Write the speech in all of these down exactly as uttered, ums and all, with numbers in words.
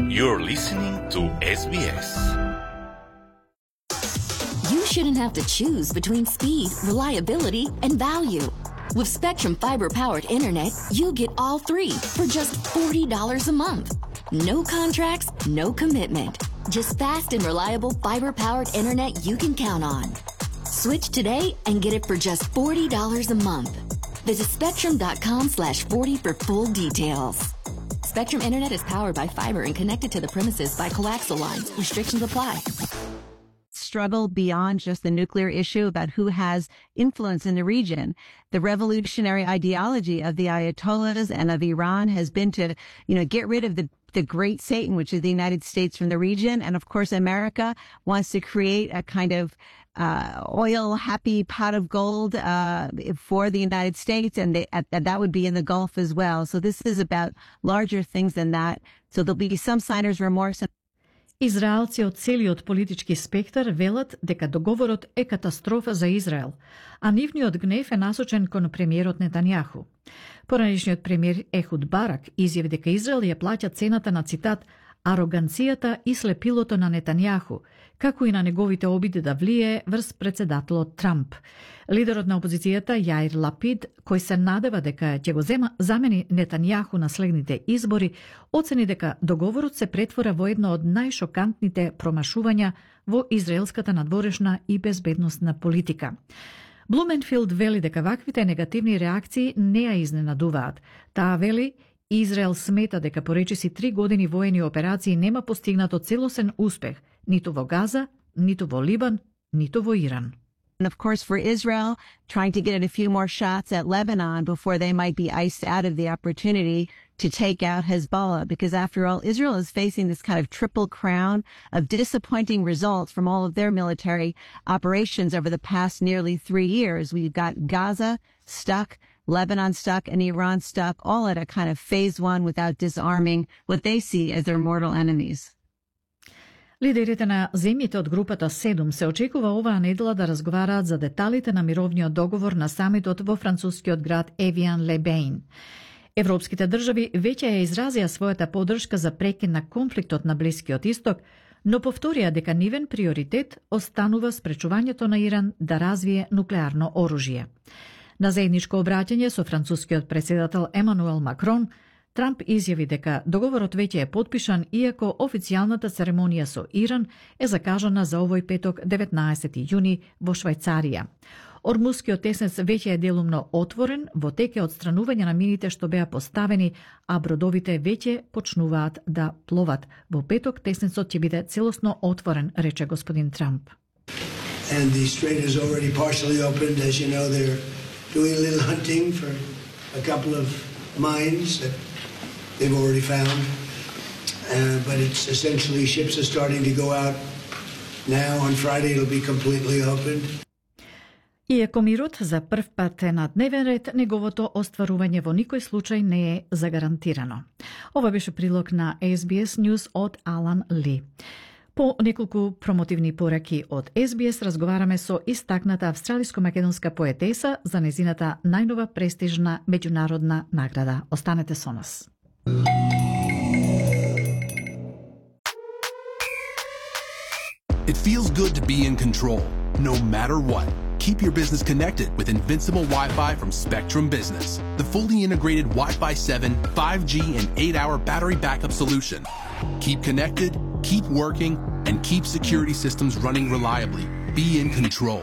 You're listening to S B S. You shouldn't have to choose between speed, reliability, and value. With Spectrum fiber-powered internet, you get all three for just forty dollars a month. No contracts, no commitment. Just fast and reliable fiber-powered internet you can count on. Switch today and get it for just forty dollars a month. Visit spectrum.com slash 40 for full details. Spectrum Internet is powered by fiber and connected to the premises by coaxial lines. Restrictions apply. Struggle beyond just the nuclear issue about who has influence in the region. The revolutionary ideology of the Ayatollahs and of Iran has been to, you know, get rid of the, the great Satan, which is the United States, from the region. And of course, America wants to create a kind of uh, oil happy pot of gold uh, for the United States. And they, uh, that would be in the Gulf as well. So this is about larger things than that. So there'll be some signers' remorse. Израелци од целиот политички спектар велат дека договорот е катастрофа за Израел, а нивниот гнев е насочен кон премиерот Нетањаху. Поранешниот премиер Ехуд Барак изјави дека Израел ја плаќа цената на, цитат, ароганцијата и слепилото на Нетањаху, како и на неговите обиди да влие врз председателот Трамп. Лидерот на опозицијата Јаир Лапид, кој се надева дека ќе го зема, замени Нетањаху на следните избори, оцени дека договорот се претвора во едно од најшокантните промашувања во израелската надворешна и безбедносна политика. Блуменфилд вели дека ваквите негативни реакции не ја изненадуваат. Таа вели, Израел смета дека по речиси три години воени операции нема постигнато целосен успех ниту во Газа, ниту во Либан, ниту во Иран. And of course, for Israel, trying to get a few more shots at Lebanon before they might be iced out of the opportunity to take out Hezbollah. Because after all, Israel is facing this kind of triple crown of disappointing results from all of their military operations over the past nearly three years. We've got Gaza stuck, Lebanon stuck, and Iran stuck, all at a kind of phase one without disarming what they see as their mortal enemies. Лидерите на земјите од групата седум се очекува оваа недела да разговараат за деталите на мировниот договор на самитот во францускиот град Евиан-ле-Бейн. Европските држави веќе ја изразија својата поддршка за прекин на конфликтот на Блискиот исток, но повторија дека нивен приоритет останува спречувањето на Иран да развие нуклеарно оружје. На заедничко обраќање со францускиот председател Емануел Макрон, Трамп изјави дека договорот веќе е подпишан, иако официјалната церемонија со Иран е закажана за овој петок деветнаесети јуни во Швајцарија. Ормускиот теснец веќе е делумно отворен, во тек е одстранување на мините што беа поставени, а бродовите веќе почнуваат да пловат. Во петок теснецот ќе биде целосно отворен, рече господин Трамп. And the strait is already partially opened. As you know, they're doing a little hunting for a couple of mines that they've already found, uh, but it's essentially ships are starting to go out now. On Friday it'll be completely opened. Иако мирот за прв пат е на дневен ред, неговото остварување во никој случај не е загарантирано. Ова беше прилог на Ес Би Ес News од Алан Ли. По неколку промотивни пораки од Ес Би Ес разговараме со истакната австралиско-македонска поетеса за незината најнова престижна меѓународна награда. Останете со нас. It feels good to be in control, no matter what. Keep your business connected with Invincible Wi-Fi from Spectrum Business, the fully integrated Wi-Fi seven, five G, and eight hour battery backup solution. Keep connected, keep working, and keep security systems running reliably. Be in control.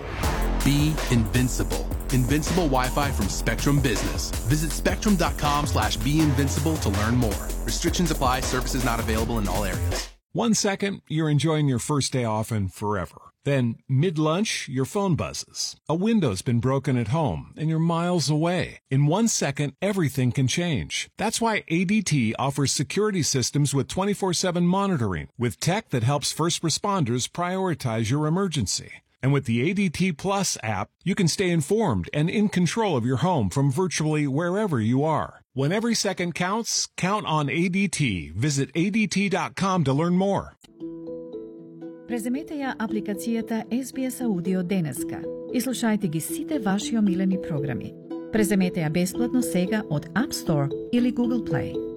Be invincible. Invincible Wi-Fi from Spectrum Business. Visit spectrum.com slash be invincible to learn more. Restrictions apply. Services not available in all areas. One second, you're enjoying your first day off and forever. Then, mid-lunch, your phone buzzes. A window's been broken at home, and you're miles away. In one second, everything can change. That's why A D T offers security systems with twenty-four seven monitoring, with tech that helps first responders prioritize your emergency. And with the A D T Plus app, you can stay informed and in control of your home from virtually wherever you are. When every second counts, count on A D T. Visit A D T dot com to learn more. Преземете ја апликацијата Ес Би Ес Аудио денеска и слушајте ги сите ваши омилени програми. Преземете ја бесплатно сега од App Store или Google Play.